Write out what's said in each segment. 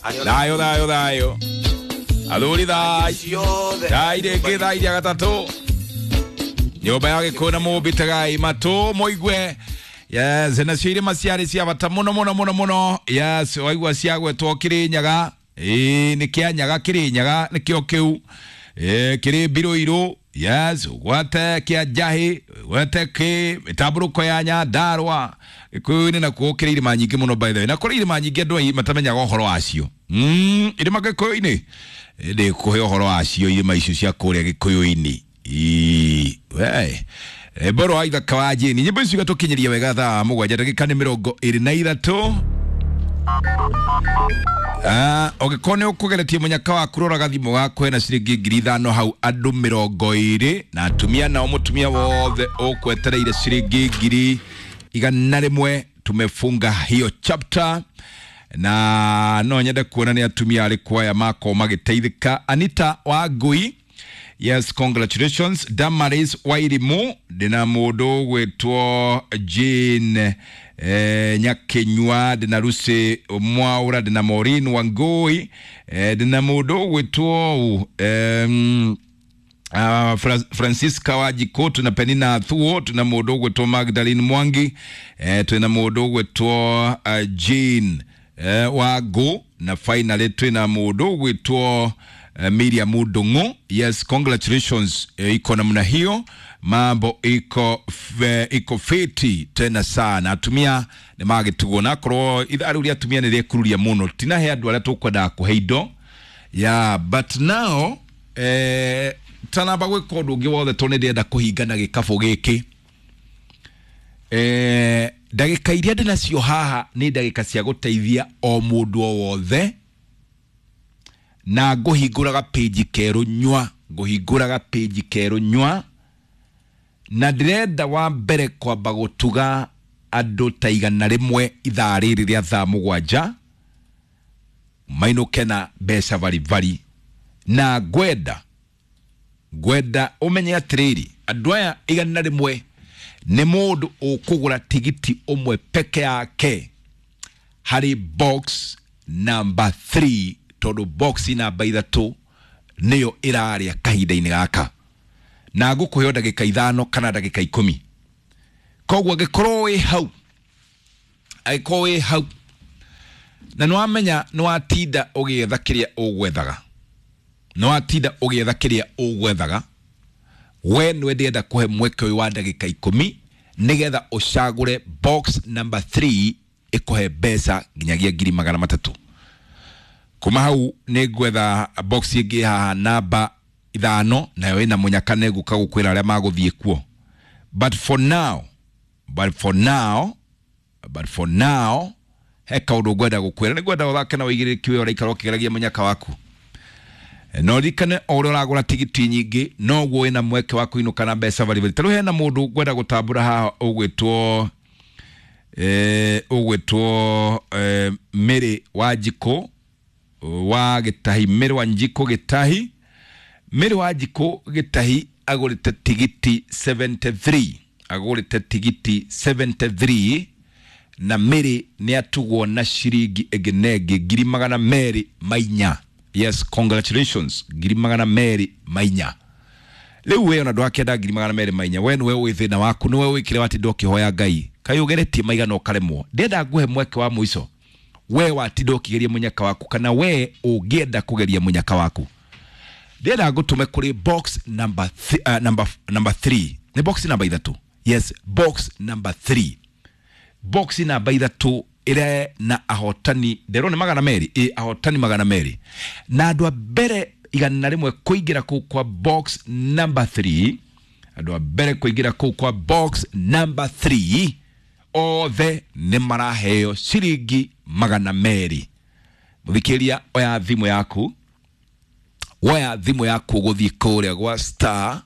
Thayũ thayũ thayũ. Athuri thai. Thai rĩngĩ thaa iria gatatũ. Nyũmba ya Gĩkũyũ na Mũmbi tegai matũ mũigue. Yes, nacio irĩma ciarĩ cia bata mũno mũno mũno mũno. Yes, waigua ciagwetwo Kĩrĩnyaga. Ĩĩ nĩ Kĩanyaga Kĩrĩnyaga nĩkĩo kĩu. Ĩĩ kĩrĩ Mbirũirũ. Yes, ũgwate kĩa Njahĩ, ũgwate kĩ mĩtambũrũko ya Nyandarũa. Gĩkũyũ-inĩ nakuo kĩrĩ irĩma nyingĩ mũno by the way. Na kũrĩ irĩma nyingĩ andũ aingĩ matamenyaga ũhoro wacio. Irĩma Gĩkũyũ-inĩ ndĩkũhe ũhoro wacio irĩma icio cia kũrĩa Gĩkũyũ-inĩ. Ii, we Mboro wa ithaka wa Jane nyĩmbo icio igatũkinyĩria wega thaa 7 ndagĩka nĩ 23. Ũngĩkorwo nĩ ũkũgeretie mũnyaka waku rora gathimũ gaku hena ciringi 5,000 hau andũ 20 na atumia nao mũtumia wothe ũkwetereire ciringi 100,000. Tumefunga hiyo chapter na no nyende kuona nĩ atumia arĩkũ aya makorwo magĩteithĩka. Anita Wangui, yes, congratulations. Damaris Wairimu, ndĩna mũndũ ũgwĩtwo Jane Nyakinyua, ndĩna Lucy Mwaura, ndĩna Maureen Wangui, ndĩna mũndũ ũgwĩtwo Francisca Wajiko, tuna Penina Thuo, tuna mũndũ ũgwĩtwo Magdalene Mwangi, twina mũndũ ũgwĩtwo Jane Wangu, na finally twina mũndũ ũgwĩtwo Miriam Ndung'u. Yes, congratulations. Iko namna hiyo, mambo iko iko fiti tena sana. Atumia nĩ magĩtugwo na akorwo ithaa rĩu rĩa atumia nĩ rĩkururia mũno, tinahe andũ arĩa tũkwendaga kũhe indo yeah, but now tanamba gwĩka ũndũ ũngĩ wothe tondũ nĩ ndĩrenda kũhingana gĩkabũ gĩkĩ. Ndagĩka iria ndĩnacio haha nĩ ndagĩka cia gũteithia o mũndũ o wothe, na ngũhingũraga page kerũ nyua, ngũhingũraga page kerũ nyua, na ndĩrenda wa mbere kwamba gũtuga andũ ta 100 ithaa rĩrĩ rĩa thaa 7 mainũke na mbeca baribari, na ngwenda ũmenye atĩrĩrĩ, andũ aya 100 nĩ mũndũ ũkũgũra tigiti ũmwe peke yake harĩ box number 3, tondũ box namba 3 nĩyo ĩrarĩa kahinda-inĩ gaka, na ngũkũhe ndagĩka 5 kana ndagĩka 10. Koguo angĩkorwo wĩ hau, angĩkorwo wĩ hau na nĩwamenya nĩwatinda ũgĩetha kĩrĩa ũgwethaga, nĩwatinda ũgĩetha kĩrĩa ũgwethaga, we nĩwe ndĩrenda kũhe mweke ũyũ wa ndagĩka 10 nĩgetha ũcagũre box number 3 ĩkũhe mbeca nginyagia 300,000. Kuma hau nĩ ngwetha box ĩngĩ haha namba 5, nayo ĩna mũnyaka nĩ ngũka gũkwĩra arĩa magũthiĩ kuo. But for now, but for now, but for now, he kaũndũ ngwenda gũkwĩra, nĩ ngwenda ũthake na ũigĩrĩrĩki wĩ ũraikara ũkĩgeragia mũnyaka waku. No ririkane o ũrĩa ũragũra tigiti nyingĩ noguo wĩna mweke wa kũinũka na mbeca baribari. Ta rĩu hena mũndũ ngwenda gũtambũra haha ũgwĩtwo ũgwĩtwo Mary Wanjikũ wa Gĩtahi, Mary Wanjikũ Gĩtahi, Mary Wanjikũ Gĩtahi agũrĩte tigiti 73, agũrĩte tigiti 73, na Mary nĩ atugwo na ciringi ĩngĩ na ĩngĩ 204,000. Yes, congratulations, 204,000. Rĩu we ona ndwakĩenda 204,000, we nĩwe ũĩ thĩna waku, nĩwe ũĩ kĩrĩa watinda ũkĩhoya Ngai, kaĩ ũgeretie maigana ũkaremwo. Ndĩrenda ngũhe mweke wa mũico, we watinda ũkĩgeria mũnyaka waku, kana we ũngĩenda kũgeria mũnyaka waku, ndĩrenda ngũtũme kũrĩ box number number 3, nĩ box namba 3. Yes, box number 3, box namba 3 ĩrĩa na ahotani nderwo nĩ 200, ĩ ahotani 200, na andũ a mbere 100 kũingĩra kũu kwa box number 3, andũ a mbere kũingĩra kũu kwa box number 3 othe nĩ maraheo ciringi 200. Mũthikĩria, oya thimũ yaku, woya thimũ yaku ũgũthiĩ kũrĩa gwa star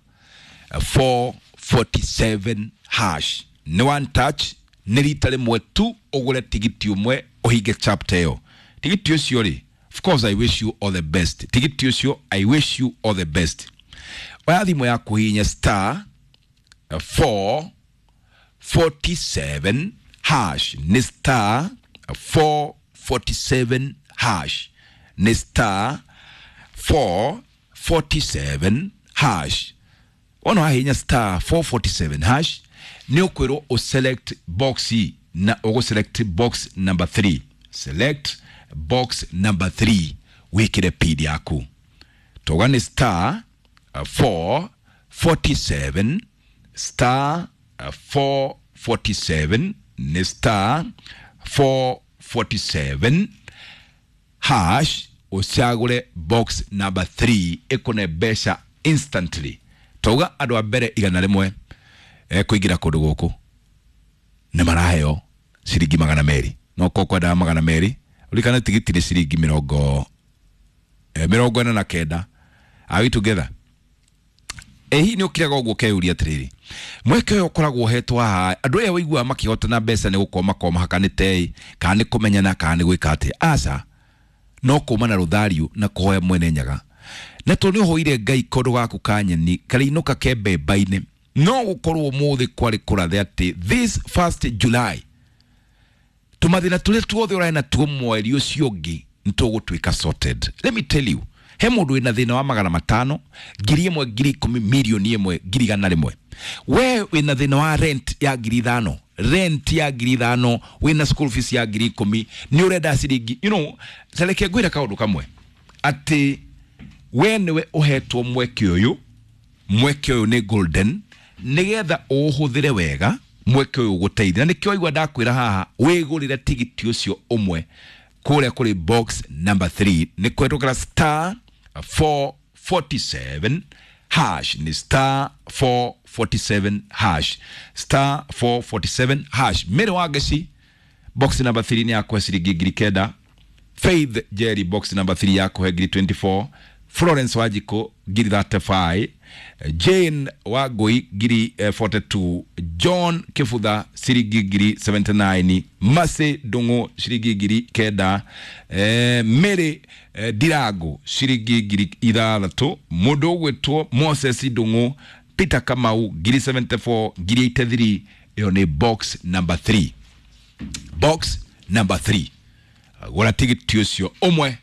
447 hash, nĩ one touch, nĩ rita rĩmwe tu ũgũre tigiti ũmwe ũhinge chapter ĩyo. Tigiti ũcio rĩ, of course I wish you all the best. Tigiti ũcio I wish you all the best. Oya thimũ yaku hihinya star 447 hash, nĩ star 447 hash. Nĩ star 447 hash. Wona wahihinya star 447 hash, nĩ ũkwĩrwo ũselect box, na ũgũselect box number 3. Select box number 3, wĩkĩre pin yaku. Toga nĩ star 447, star 447, nĩ star 447 hash, ũcagũre box number 3, ĩkũne mbeca instantly. Tauga andũ a mbere 100 kũingĩra kũndũ gũkũ nĩ maraheo ciringi 200. No ko kwendaga 200, ũririkane tigiti nĩ ciringi 49. Are we together? Ĩ hihi nĩ ũkiraga ũguo ũkeyũria atĩrĩrĩ, mweke ũyũ ũkoragwo ũhetwo haha, andũ aya ũiguaga makĩhotana mbeca nĩ gũkorwo makorwo mahakanĩte ĩ, kana nĩ kũmenyana, kana nĩ gwĩka atĩa? Aca, no kuma na rũthariũ na kũhoya Mwene Nyaga. Na tondũ nĩ ũhoire Ngai kondo gaku ka nyeni karĩinũka ke mbemba-inĩ, no gũkorwo ũmũthĩ kwarĩ kũrathe atĩ this first July tũmathĩna tũrĩa tuothe ũrarĩ natuo mweri ũcio ũngĩ nĩ tũgũtuĩka sorted. Let me tell you, he mũndũ wĩna thĩna wa 500, 1,000, 10,000, 1,000,000, 100,000. We wĩna thĩna wa rent ya 5,000, rent ya 5,000, wĩna school fees ya 10,000, nĩ ũrenda ciringi, tareke ngwĩre kaũndũ kamwe, atĩ we nĩwe ũhetwo mweke ũyũ. Mweke ũyũ nĩ golden, nĩgetha ũũhũthĩre wega mweke ũyũ ũgũteithia. Na nĩkĩo waigua ndakwĩra haha wĩgũrĩre tigiti ũcio ũmwe kũrĩa kũrĩ box number 3, nĩ kũhetũkĩra star 447 hash, nĩ star 447 hash, star 447 hash. Mary Wangeci, box number 3 nĩ yakũhe ciringi 9,000. Faith Jerry, box number 3 yakũhe 24,000. Florence Wanjikũ 35,000. Jane Wangui 42,000. John Kibutha ciringi 79,000. Mercy Ndung'u ciringi 9,000. Mary Ndirangu ciringi 6,000. Mũndũ ũgwĩtwo Moses Ndung'u, Peter Kamau 74,000, 83,000. Ĩyo nĩ box number 3, box number 3. Gũra tigiti ũcio ũmwe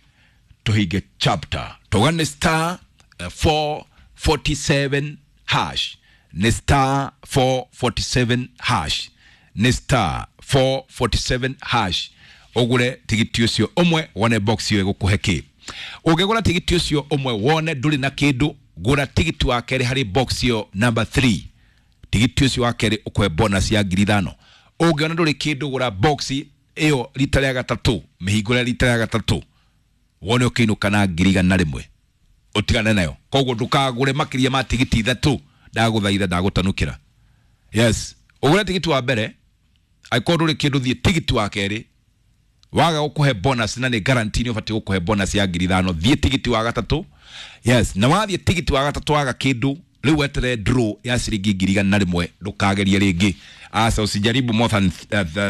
tũhinge chapter. Tauga nĩ star 447 hash, nĩ star 447 hash, nĩ star 447 hash, ũgũre tigiti ũcio ũmwe wone box ĩyo ĩgũkũhe kĩ. Ũngĩgũra tigiti ũcio ũmwe wone ndũrĩ na kĩndũ, gũra tigiti wa kerĩ harĩ box ĩyo number 3. Tigiti ũcio wa kerĩ ũkũhe bonus ya 5,000. Ũngĩona ndũrĩ kĩndũ, gũra box ĩyo rita rĩa gatatũ, mĩhingũre rita rĩa gatatũ, wone ũkĩinũka na 100,000, ũtigane nayo. Koguo ndũkagũre makĩria ma tigiti 3, ndagũthaitha, ndagũtanukĩra. Yes, ũgũre tigiti wa mbere, angĩkorwo ndũrĩ kĩndũ, thiĩ tigiti wa kerĩ, waga gũkũhe bonus, na nĩ guarantee nĩ ũbatiĩ gũkũhe bonus ya 5,000, thiĩ tigiti wa gatatũ. Yes, na wathiĩ tigiti wa gatatũ waga kĩndũ, rĩu weterere draw ya ciringi 100,000, ndũkagerie rĩngĩ. Asa, usijaribu more than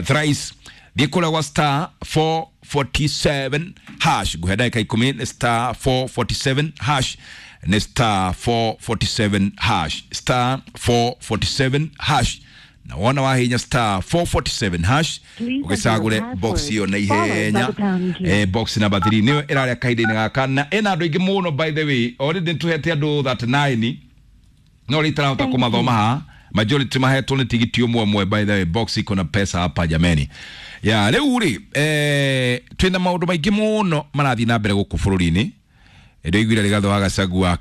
thrice. Thiĩ kũrĩa gwa star 447 hash. Nguhe ndagĩka 10. Nĩ star 447 hash, nĩ star 447 hash, star 447 hash. Na wona wahinya star 447 hash, ũgĩcagũre box ĩyo na ihenya. Box number 3 nĩyo ĩrarĩa kahinda-inĩ gaka na ĩna andũ aingĩ mũno. By the way, already nĩtũhete andũ 39, no rĩ itarahota kũmathoma haha. Majority mahetwo nĩ tigiti ũmwe ũmwe. By the way, box iko na pesa hapa jameni. Ya rĩu rĩ, twĩna maũndũ maingĩ mũno marathiĩ na mbere gũkũ bũrũri-inĩ. Ndĩiguire Rigathĩ wa Gachagua.